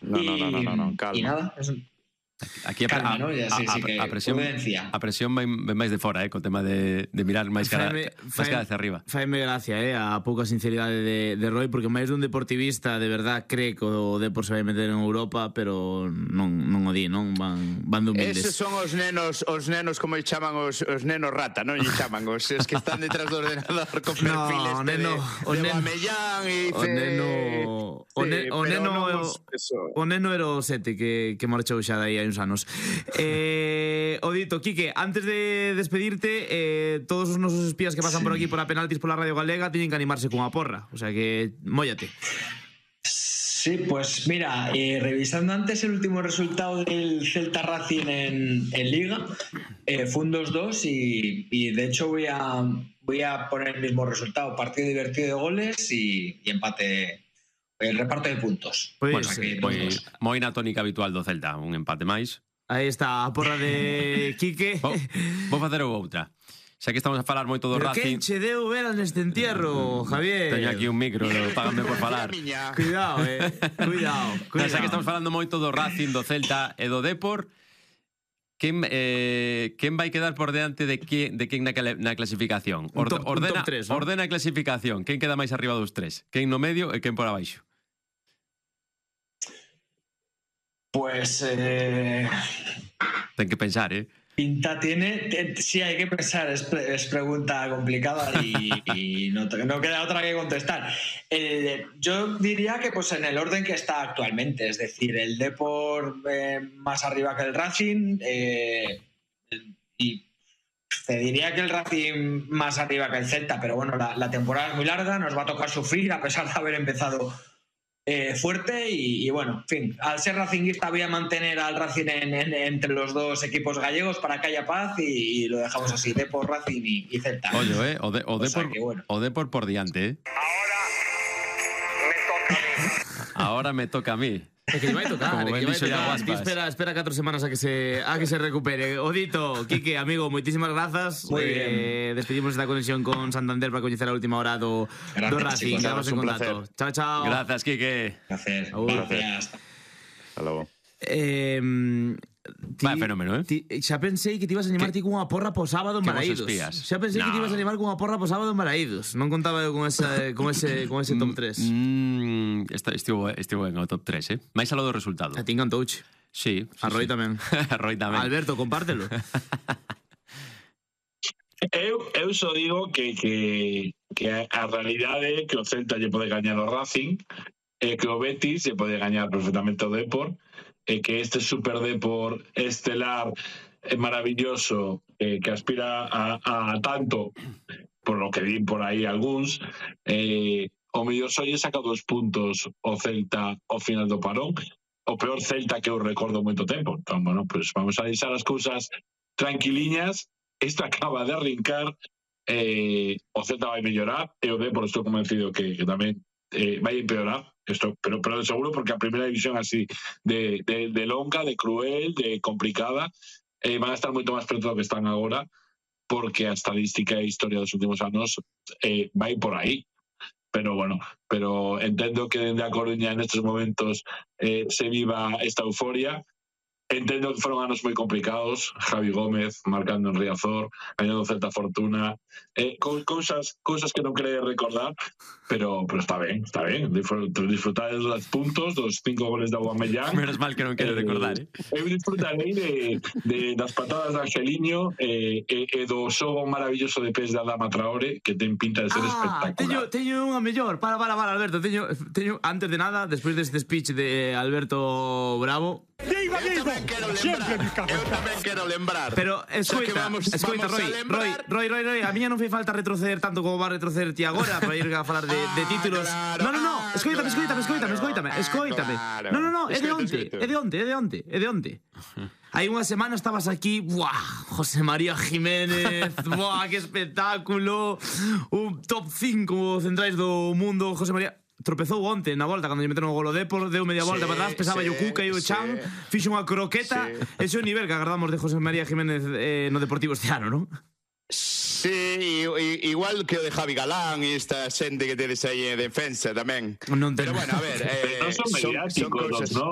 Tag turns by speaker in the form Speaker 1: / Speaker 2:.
Speaker 1: No, calma.
Speaker 2: Y nada,
Speaker 3: Aquí
Speaker 2: calma, ¿no? Ya sí que prudencia.
Speaker 3: A presión ven máis de fora, co tema de mirar máis cara hacia arriba.
Speaker 4: Faime gracia, a pouca sinceridade de Roy, porque máis dun deportivista de verdad cree que o Depor se vai meter en Europa, pero non o di, non? Van de humildes.
Speaker 1: Eses son os nenos como lle chaman os nenos rata, non lle chaman os que están detrás do ordenador con perfiles de Guamellán e
Speaker 4: o neno era o Sete que marchou xa dai hai uns anos. O dito, Quique, antes de despedirte, todos os nosos espías que pasan por aquí por a penaltis pola Radio Galega tienen que animarse cunha porra, o sea que móllate.
Speaker 2: Sí, pues mira, revisando antes el último resultado del Celta Racing en Liga, fue un 2-2 y de hecho voy a poner el mismo resultado, partido divertido de goles y empate, el reparto de puntos.
Speaker 3: Pues moi na tónica habitual do Celta, un empate máis.
Speaker 4: Aí está a porra de Quique.
Speaker 3: Vou facer outra. Xa que estamos a falar moito do Racing.
Speaker 4: Pero que che deu veras neste entierro, Javier?
Speaker 3: Teño aquí un micro, págame por falar.
Speaker 4: Cuidado, cuidado.
Speaker 3: Xa que estamos falando moito do Racing, do Celta e do Depor, quen vai quedar por diante de quen na clasificación? Ordena a clasificación. Quen queda máis arriba dos tres? Quen no medio e quen por abaixo?
Speaker 2: Pues
Speaker 3: ten que pensar,
Speaker 2: pinta tiene, sí hay que pensar, es pregunta complicada y no queda otra que contestar. Yo diría que pues en el orden que está actualmente, es decir, el Depor más arriba que el Racing y te diría que el Racing más arriba que el Celta, pero bueno, la temporada es muy larga, nos va a tocar sufrir a pesar de haber empezado fuerte y bueno, en fin, al ser racinguista voy a mantener al Racing entre los dos equipos gallegos para que haya paz y lo dejamos así, Depor, Racing y Celta.
Speaker 3: Oye, o Depor por diante, Ahora me toca a mí.
Speaker 4: É que lle vai tocar, espera 4 semanas a que se recupere. Odito, Quique, amigo, moitísimas grazas. Despedimos esta conexión con Santander para coñecer a última hora do Racing. Quedamos en contacto. Chao, chao.
Speaker 3: Gracias, Quique.
Speaker 2: Gracias.
Speaker 1: Hasta logo.
Speaker 3: Vai fenómeno,
Speaker 4: Xa pensei que te ibas a animar ti cunha porra po sábado en Balaídos. Xa pensei que te ibas a animar cunha porra po sábado en Balaídos. Non contaba eu con ese top 3.
Speaker 3: Estivo en o top 3, máis aló do resultado.
Speaker 4: A ti encantouche.
Speaker 3: Sí.
Speaker 4: A Roy tamén.
Speaker 3: A Roy tamén.
Speaker 4: Alberto, compártelo.
Speaker 5: Eu só digo que a realidade é que o Celta lle pode gañar o Racing e que o Betis lle pode gañar perfectamente o Depor e que este Super Depor estelar maravilloso que aspira a tanto, por lo que di por aí algúns, o mellor só lle saca 2 puntos o Celta ao final do parón, o peor Celta que eu recordo moito tempo. Entón, bueno, pues vamos a deixar as cousas tranquiliñas. Isto acaba de arrincar, o Celta vai mellorar e o Depor estou convencido que tamén vai empeorar, pero de seguro, porque a primeira división así de longa, de cruel, de complicada, van a estar moito máis preto do que están agora, porque a estadística e a historia dos últimos anos vai por aí. Pero bueno, entendo que dende a Coruña en estes momentos se viva esta euforia. Entendo que foron anos moi complicados, Javi Gómez marcando en Riazor, gañando Celta Fortuna, cousas que non quere recordar, pero está ben, disfrutar dos puntos, dos 5 goles de Aubameyang.
Speaker 3: Menos mal que non quere recordar,
Speaker 5: Eu disfrutarei das patadas de Angeliño e do xogo maravilloso de pés de Adama Traore, que ten pinta de ser espectacular.
Speaker 4: Teño unha mellor, para Alberto, teño antes de nada, despois deste speech de Alberto Bravo.
Speaker 1: Eu tamén quero lembrar.
Speaker 4: Pero escoita, Roy, a miña non fai falta retroceder tanto como va a retroceder ti agora para ir a falar de títulos. No, escoítame. No, é de onte. Hai unha semana estabas aquí, José María Jiménez, que espectáculo, un top 5 centrais do mundo, José María. Tropezou onte na volta cando lle meteron o golo Depor, deu media volta para atrás, pesaba o Cuca e o Chan, fixo unha croqueta. Ese é o nivel que agardamos de José María Jiménez no Deportivo este ano, non?
Speaker 1: Sí, igual que o de Javi Galán e esta xente que tedes aí en defensa tamén.
Speaker 4: Pero
Speaker 1: bueno, a ver,
Speaker 5: son mediáticos, non?